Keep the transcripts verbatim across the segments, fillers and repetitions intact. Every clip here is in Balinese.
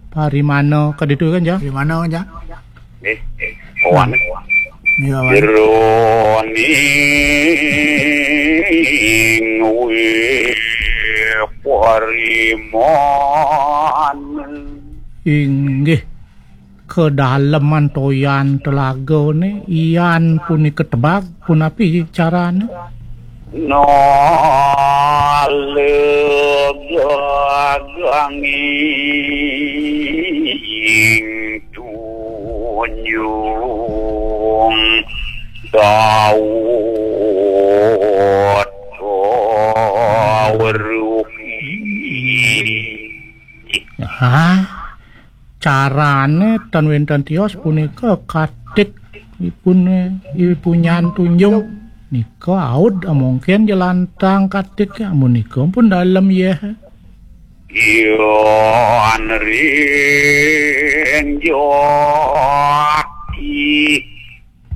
Parimana kaditu kan, Jang? Parimana, Jang? Nggih. Kawan. Iya, Wan. Jeroning wih parimana. Inggih. Kedaleman toyan telagane, yan punika tebag, punapi carane? Nalegaganging tunjung Daud Tawruhi. Hah? Carane tan wenten tios punika katik ipune, ipunyan tunjung. Nika aud amongken jelantang katik, amunika pun dalem yeh. Yan ring jati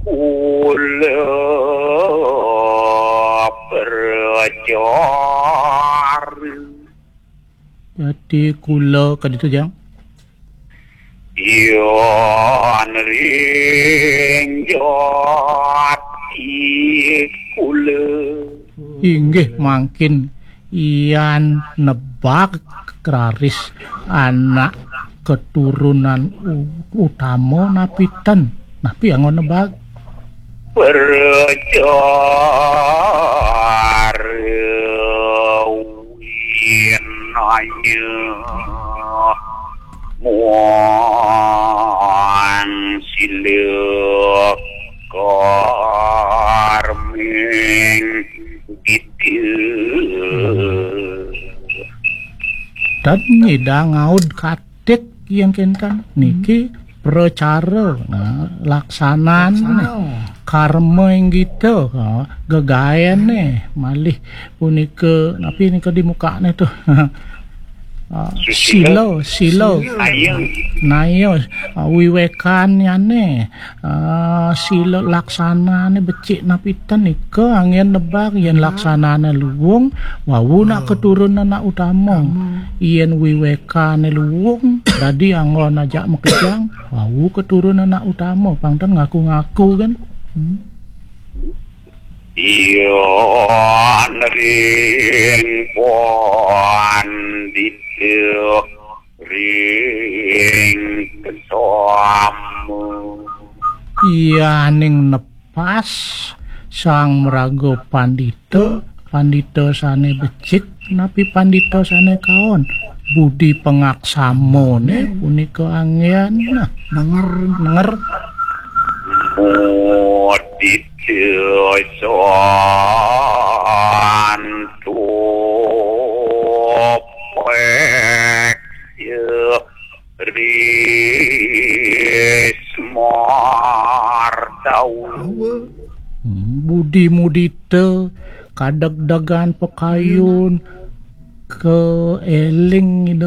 kula percara. Jati kula kaditu, Jang? Yan ring jati kula. Inggih mangkin yan nebak raris anak keturunan u-, utama napi ten. Napi anggon nebak? Percara winaya muang sila karming dita. Dan nyidang ngaud katik yang kenten niki pracara, nah, laksanan, karma inggita, ha, gegaene malih punika, napi nika di mukane tu? Ah, sila, sila. Naya, ah, wiwekanyane, ah, sila laksanane becik napi ten nika anggen nebak yen laksanane luung, wau nak keturunan anak utama. Yen wiwekane luung, dadi anggon ajak makejang, wau keturunan anak utama, pang ten ngaku-ngaku kan. Hmm. Yan ring pandita ring kesama. Yaning nepas sang maraga pandita, pandita sane becik, napi pandita sane kaon. Budi pangaksamane punika anggen. Nah, nenger, nenger. Mudita santo peksa rismardawa. Hmm, budi mudita, kadegdegan pakayun, kaeling